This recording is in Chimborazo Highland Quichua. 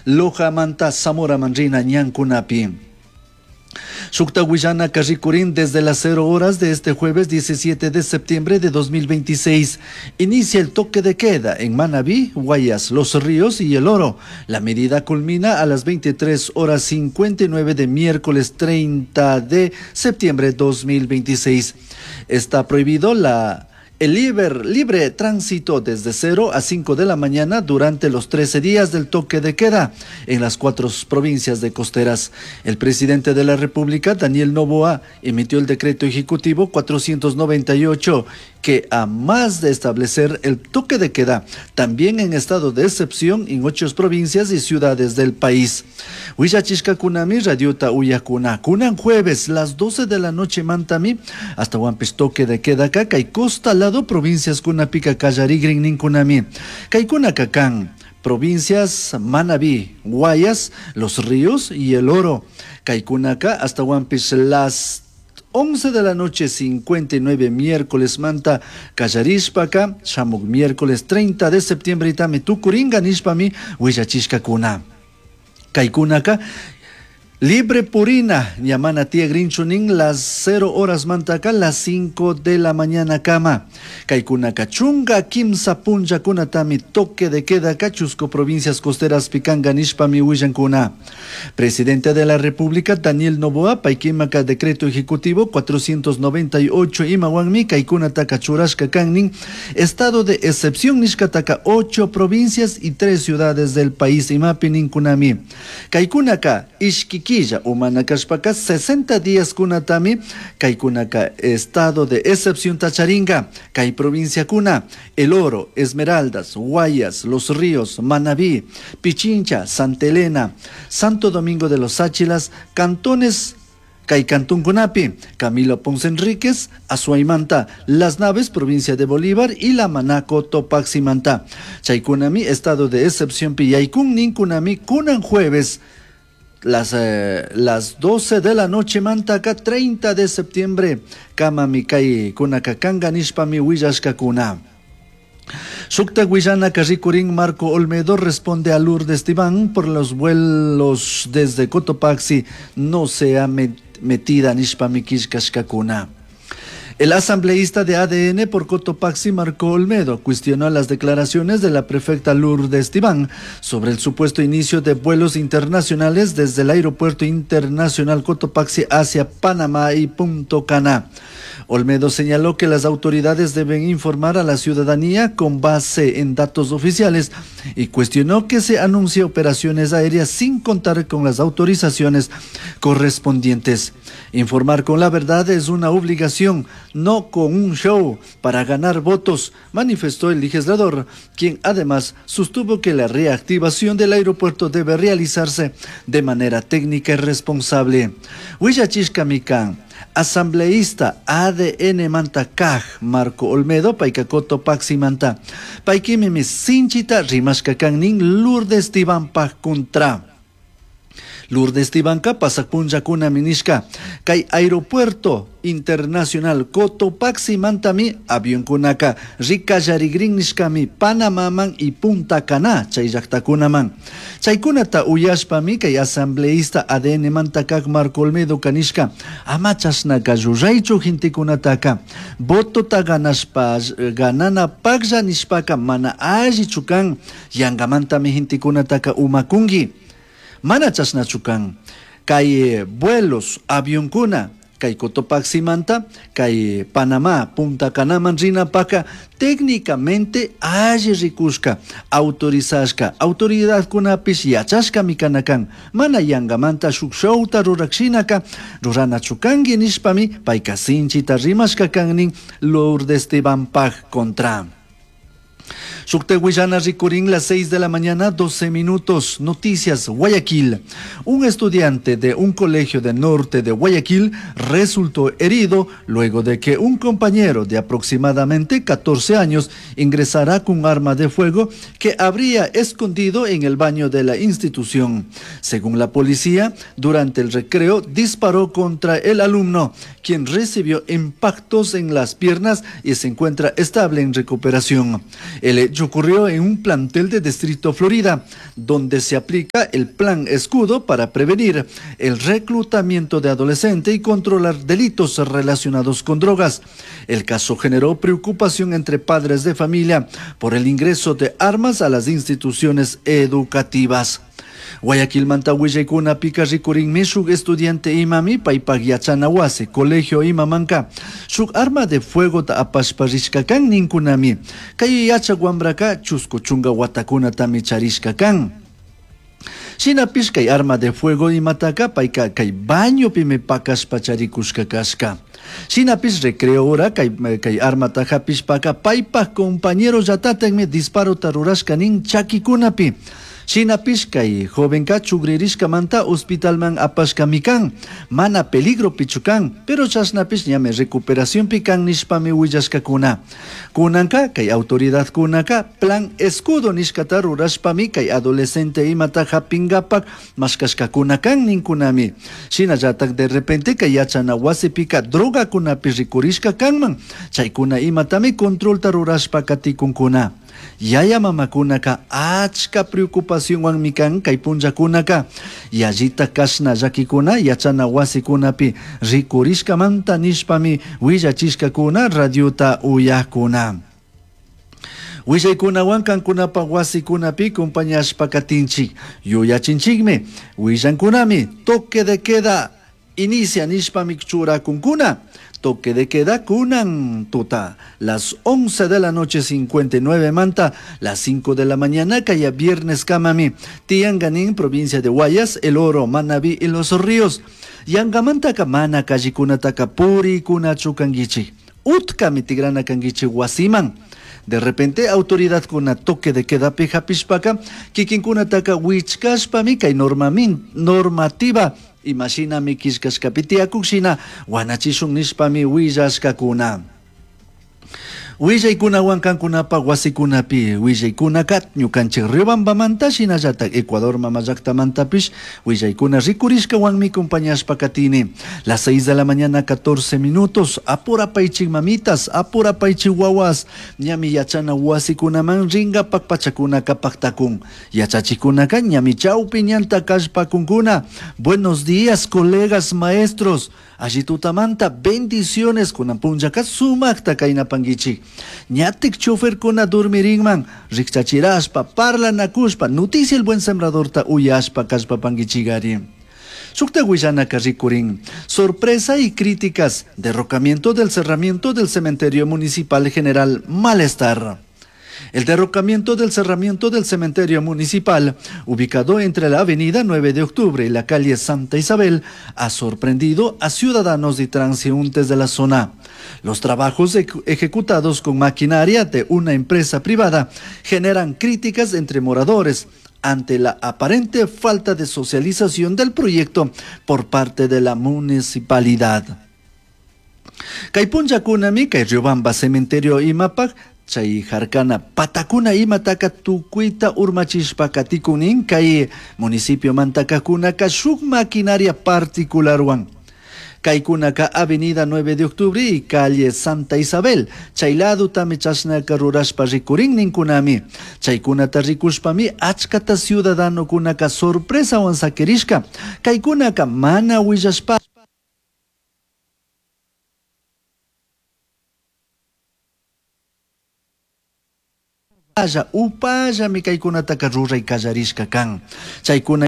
Lojamanta Zamoraman rina ñankunapi. Shukta willanaka rikurin desde las 0 horas de este jueves 17 de septiembre de 2026. Inicia el toque de queda en Manabí, Guayas, Los Ríos y El Oro. La medida culmina a las 23 horas 59 de miércoles 30 de septiembre de 2026. Está prohibido la el libre tránsito desde 0 a 5 de la mañana durante los 13 días del toque de queda en las cuatro provincias de costeras. El presidente de la República, Daniel Noboa, emitió el decreto ejecutivo 498 que, a más de establecer el toque de queda, también en estado de excepción en ocho provincias y ciudades del país. Huillachishkakunami radiota uyakuna. Kunan jueves, las 12 de la noche mantami, hasta Huampis toque de queda kay costa lado provincias kunapika kallarigrin ninkunami. Kaykuna kakan provincias Manabí, Guayas, Los Ríos y El Oro. Kaykunaka hasta Huampis las 11 de la noche 59 miércoles manta kallarishpaka shamuk miércoles 30 de septiembre itami tukuringa nishpami willachishkakuna. Kaykunaka libre purina ñamana tiyagrinchu nin las 0 horas mantaka las 5 de la mañana kama. Kaykunaka 13 punllakunatami toque de queda chusku provincias costeras pikanka nishpami willankuna. Presidente de la República Daniel Noboa paykimaka decreto ejecutivo 498 imawanmi kaykunataka churashka kan nin estado de excepción nishkataka 8 provincias y 3 ciudades del país imapi ninkunami. Kaykunaka ishki killa umana kashpaka 60 días kunatami kaykunaka estado de excepción tacharinga kay provincia kuna El Oro, Esmeraldas, Guayas, Los Ríos, Manabí, Pichincha, Santa Elena, Santo Domingo de los Tsáchilas, cantones kay Cantuncunapi, Camilo Ponce Enríquez, Azuaymanta, Las Naves, provincia de Bolívar, y La Maná, Cotopaximanta. Chaykunami, estado de excepción piyaykun ninkunami, kunan jueves, las 12 de la noche mantaka 30 de septiembre kamami kay kunaka kanga nishpami willashkakuna. Shukta willanaka rikurin Marco Olmedo responde a Lourdes Tibán por los vuelos desde Cotopaxi no se ha metida nishpami killkashkakuna. El asambleísta de ADN por Cotopaxi, Marco Olmedo, cuestionó las declaraciones de la prefecta Lourdes Tibán sobre el supuesto inicio de vuelos internacionales desde el Aeropuerto Internacional Cotopaxi hacia Panamá y Punta Cana. Olmedo señaló que las autoridades deben informar a la ciudadanía con base en datos oficiales y cuestionó que se anuncie operaciones aéreas sin contar con las autorizaciones correspondientes. Informar con la verdad es una obligación, no con un show para ganar votos, manifestó el legislador, quien además sostuvo que la reactivación del aeropuerto debe realizarse de manera técnica y responsable. Willachishkami kan, asambleísta ADN manta kaj Marco Olmedo payka Cotopaximanta. Paykimimi sinchita rimashka kan nin Lourdes Tibanpaj contra. Lourdes Tibanka pasak punllakuna nishka kay aeropuerto internacional Cotopaxi mantami avionkunaka rikallarigrin nishkami Panamaman y Punta Cana chay llaktakunaman. Chaykunata uyashpami kay asambleísta ADN manta kak Marco Olmedo kanishka ama chashnaka ruraychu gentekunataka votota ganashpa ganana paklla nishpaka mana allichu kan yangamantami gentekunataka umakunki. Mana chashnachu kan kay vuelos avionkuna kay Cotopaximanta kay Panamá Punta Canaman rinapaka técnicamente alli rikushka autorizashka autoridadkunapish yachashkami kana kan mana yangamanta shuk showta rurakshinaka ruranachu kanki nishpami payka sinchita rimashka kan nin Lourdes Tibanpaj contra. Shukta willana rikurin las 6 de la mañana, 12 minutos. Noticias, Guayaquil. Un estudiante de un colegio del norte de Guayaquil resultó herido luego de que un compañero de aproximadamente 14 años ingresara con arma de fuego que habría escondido en el baño de la institución. Según la policía, durante el recreo disparó contra el alumno, quien recibió impactos en las piernas y se encuentra estable en recuperación. El hecho hecho ocurrió en un plantel de Distrito Florida, donde se aplica el Plan Escudo para prevenir el reclutamiento de adolescentes y controlar delitos relacionados con drogas. El caso generó preocupación entre padres de familia por el ingreso de armas a las instituciones educativas. Guayaquilmanta willaykunapika rikurinmi shuk estudiante imami paypak yachana wasi colegio imamanka shuk arma de fuegota apashpa rishka kan ninkunami. Kay yachak wambraka chusku chunka watakunatami charishka kan. Shinapish kay arma de fuego imataka payka kay bañopimi pakashpa charikushka kashka. Shinapish recreo hora kay armata hapishpaka paypak compañero llatatakmi disparota rurashka nin chakikunapi. Shinapish kay jovenka chugririshkamanta hospitalman apashkami kan, mana peligropichu kan, pero chashnapish ñami recuperacionpi kan nishpami willashkakuna. Kunanka kay autoridadkunaka Plan Escudo nishkata rurashpami kay adolescente imata hapingapak mashkashkakuna kan ninkunami. Shinallatak de repente kay yachana wasipika drogakunapi rikurishka kanman, chaykuna imatami controlta rurashpa katikunkuna. Yaya mamakunaka achka preocupacionwanmi kan kay punllakunaka yallita kashna llakikuna yachana wasikunapi rikurishkamanta nishpami willachishkakuna radiota uyakuna. Willaykunawan kankunapa wasikunapi compañashpa katinchik yuyachinchikmi willankunami toque de queda inicia nishpami churakunkuna. Toque de queda kunan tuta, las 11 de la noche 59 manta, las 5 de la mañana kaya viernes kamami, Tianganín, provincia de Guayas, El Oro, Manabí y Los Ríos. Yangamantaka mana kallikunataka purikunachu kankichik, utkami tigrana kankichik wasiman. De repente, autoridad kuna toque de queda pi hapishpaka, kikinkunataka wichkashpami kay normativa imashinami killkashkapi tiyakuk shina wanachishun nishpami willashkakuna. Willaykunawan kankunapa wasikunapi willaykunaka ñukanchik Riobambamanta shinallatak Ecuador mama llaktamantapish willaykuna rikurishkawanmi compañashpa katini. Las 6 de la mañana 14 minutos, apurapaychik mamitas, apurapaychik wawas, ñami yachana wasikunaman ringapak pachakunaka paktakun. Yachachikunaka ñami chawpi ñanta kallpakunkuna. Buenos días, colegas maestros. Alli tutamanta bendiciones kunan punllaka sumakta kaynapankichik. Ñatik choferkuna dormirinman, rikchachirashpa, parlanakushpa, noticia el buen sembradorta uyashpa kallpapankichikari. Shukta willanaka rikurin, sorpresa y críticas, derrocamiento del cerramiento del cementerio municipal general Malestar. El derrocamiento del cerramiento del cementerio municipal, ubicado entre la avenida 9 de octubre y la calle Santa Isabel, ha sorprendido a ciudadanos y transeúntes de la zona. Los trabajos ejecutados con maquinaria de una empresa privada generan críticas entre moradores ante la aparente falta de socialización del proyecto por parte de la municipalidad. Kay punllakunami kay Riobamba cementerio imapak chay harkana patakuna imataka tukuyta urmachishpa katikunin kay municipio mantakakunaka shuk maquinaria particularwan. Kaykunaka avenida 9 de octubre y calle Santa Isabel. Chay ladutami chashnaka rurashpa rikurin ninkunami. Chaykunata rikushpami achkata ciudadanokunaka sorpresawan sakirishka. Kaykunaka mana willashpa upallami kaykunataka ruray kallarishka kan. Chaykuna